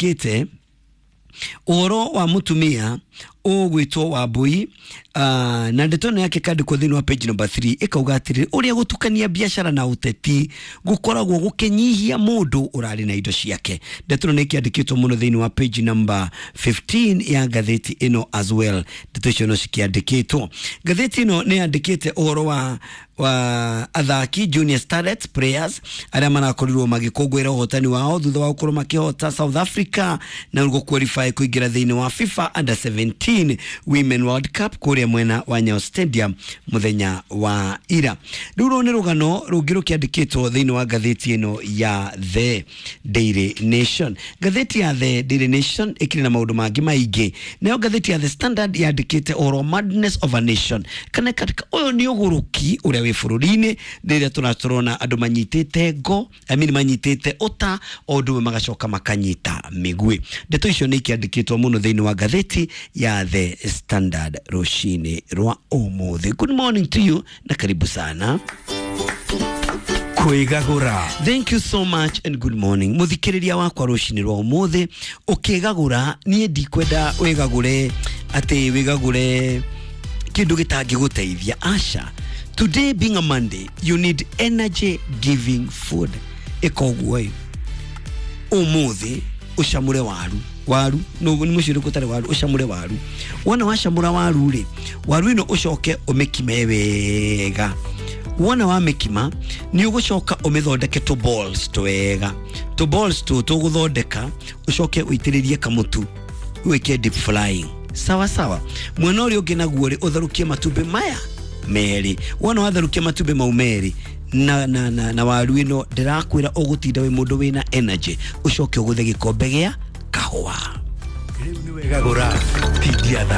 Ĩkĩandĩkĩte ũhoro wa mũtumia ũgwĩtwo Wambui, na ndeto ĩno yake kandĩkwo thĩinĩ wa page number 3, ĩkauga atĩrĩrĩ, ũrĩa gũtukania biacara na ũteti gũkoragwo gũkĩnyihia mũndũ ũrarĩ na indo ciake. Ndeto ĩno nĩ ĩkĩandĩkĩtwo mũno thĩinĩ wa page number 15 ya ngathĩti ĩno as well. Ndeto icio no cikĩandĩkĩtwo. Ngathĩti ĩno nĩ yandĩkĩte ũhoro wa athaki Junior Starlets players arĩa marakorirwo magĩkũngũĩra ũhotani wao thutha wa gũkorwo makĩhota South Africa na gũ qualify kũingĩra thĩinĩ wa FIFA Under 17 Women World Cup kũrĩa mwena wa Nyayo Stadium mũthenya wa ira. Rĩu rũrũ nĩ rũgano rũngĩ rũkĩandĩkĩtwo thĩinĩ wa ngathĩti ĩno ya The Daily Nation. Ngathĩti ya The Daily Nation ĩkĩrĩ na maũndũ mangĩ maingĩ. Nayo ngathĩti ya The Standard yandĩkĩte ũhoro madness of a nation, kana katika ũyũ nĩ ũgũrũki ũrĩa wĩ bũrũri-inĩ rĩrĩa tũratũrona andũ manyitĩte ngo, I mean, manyitĩte ũta o ũndũ ũmwe magacoka makanyita mĩguĩ. Ndeto icio nĩ ikĩandĩkĩtwo mũno thĩinĩ wa ngathĩti ya The Standard rũcinĩ rwa ũmũthĩ. Good morning to you na karibu sana. Kwĩgagũra. Thank you so much and good morning, muthikiriria wakwa. Rucinĩ rwa ũmũthĩ ũkĩgagũra, niĩ ndikwenda wĩgagũre atĩ wĩgagũre kĩndũ gĩtangĩgũteithia, aca. Today being a Monday, you need energy giving food. Ĩka ũguo ĩ, ũmũthĩ ũcamũre waru. Waru no nĩ mũciĩ ũrĩkũ ũtarĩ waru? Ũcamũre waru. Wona wacamũra waru rĩ, waru ĩno ũcoke ũmĩkime wega. Wona wamĩkima, nĩ ũgũcoka ũmĩthondeke tũ balls twega, tũ balls tũ tũgũthondeka, ũcoke ũitĩrĩrie kamũtu, wĩke deep frying. Sawa sawa. Mwena ũrĩa ũngĩ naguo rĩ, ũtherũkie matumbĩ maya merĩ. Wona watherũkia matumbĩ mau merĩ na waru ĩno, ndĩrakwĩra ũgũtinda wĩ mũndũ wĩna energy. Ũcoke ũgũthe gĩkombe gĩa kahũa. Rĩu nĩ wegagũra tindia.